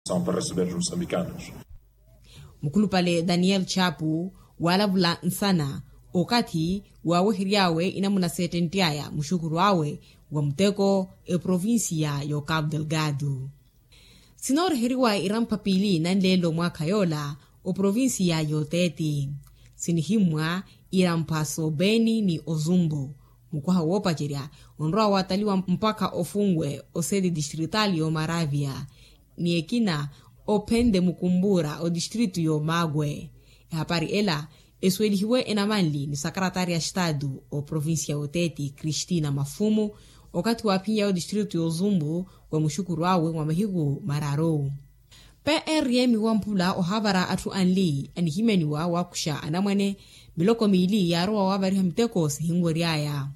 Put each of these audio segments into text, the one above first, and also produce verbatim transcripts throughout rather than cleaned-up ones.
São para receber os moçambicanos. Mukhulupale daniel chapu waalavula nsana okathi waawehery'awe inamuna seettentt'aya muxukhuru awe wa muteko eprovincia y'okapu delgado. Sinooriheriwa irampa piili nanleelo mwaakha yoola oprovincia y'oteeti sinihimmwa irampa s'obeni ni ozumbu. Mukwaha woopacerya onrowa waataliwa mpakha ofunwe oseti distrital y'omaravia ni ekina ophenle mukumbura otistritu y'omaakwe. Ehapari ela esuwelihiwe enamanli ni sakaratari ya estatu oprovincia y'oteeti kristina mafumu okathi waaphin'yawe otistritu y'ozumbu wa muxukuru awe mwa mahiku mararu. Prm wa mphula ohaavara atthu anli anihimyaniwa waakuxa anamwane miloko miili yaarowa waavariha miteko sihinwery'aya.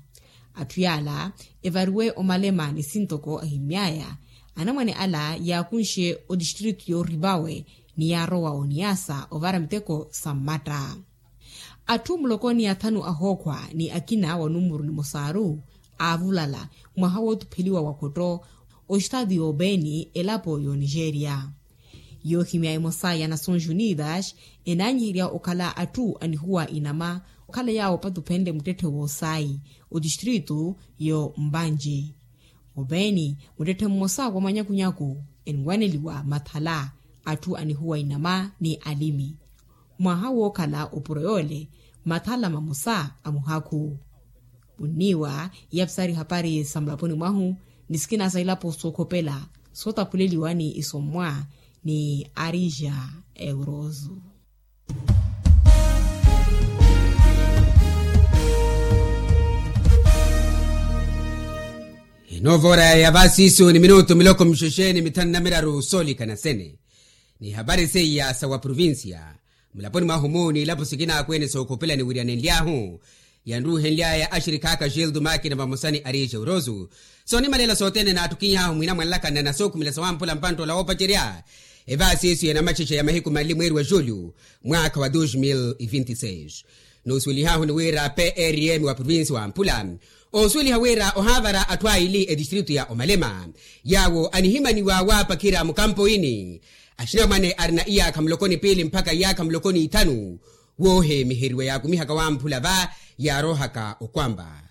Atthu yaala evariwe omalema ni sintoko ahimmy'aya anamwane ala yaakunxe otistritu y'orivawe ni yaarowa oniasa ovara miteko sa mmatta. Atthu muloko ni athanu ahookhwa ni akina wa numuru nimosaaru aavulala mwaha wootupheliwa wa khotto ostaati y'obeeni elapo y'onigeria. Yoohimya emosa ya nações unidas enaanyiherya okhala atthu anihuwa inama okhala yaawo opatuphenle muttetthe w'osayi otistritu y'ombanji. Obeeni muttetthe mmosa wa manyakunyaku enwaneliwa mathala atthu anihuwa inama ni alimi. Mwaha wookhala opuro yoole mathala mamosa a muhakhu. Munniiwa iyapisari hapari sa mulaponi mwahu ni sikina sa ilapo sookhopela sootaphuleliwa ni isommwa ni arija euroso. Enoovora ya vasiisu ni minutu miloko mixexe ni mithanu na miraru soolikana sene. Ni hapari seiya sa wa provincia mulaponi mwahu-mu ni ilapo sikina akweene sookhopela niwiryanenly'ahu yanruuhenly'aya axirikhaaka gildo makina vamosa ni arixe urosu. Soonimalela sothene naattukiny'ahu mwina mwanlakana na sookhumela sawamphula mpantt'ola woopacerya evaasi isu ya namaxexe ya mahiku manli mweeri wa julho mwaakha wa dos mil vinti seis. Noosuwelih'ahu ni wira prm wa provinsi wamphula oosuweliha wira ohaavara atthu aili etistritu ya omalema yaawo anihimaniwa waapakhira mukampo ini. Axinamwane arina iyaakha muloko ni piili mpakha iyaakha muloko ni ithanu woohemiheriwa yaakumihaka wamphula va yaarohaka okwamba.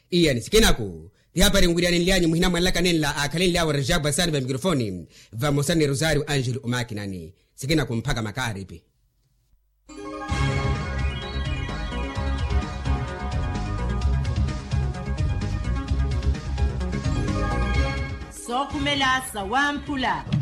Iya ni sikinaku ti hapari nwiryanenly'anyu muhina mwanlaka nenla aakhalenly'awe rejabwa sani va mikrofoni vamosa ni rosario angelo omakinani. Sikinaku mpakha makaaripi. Sookhumela sawamphula.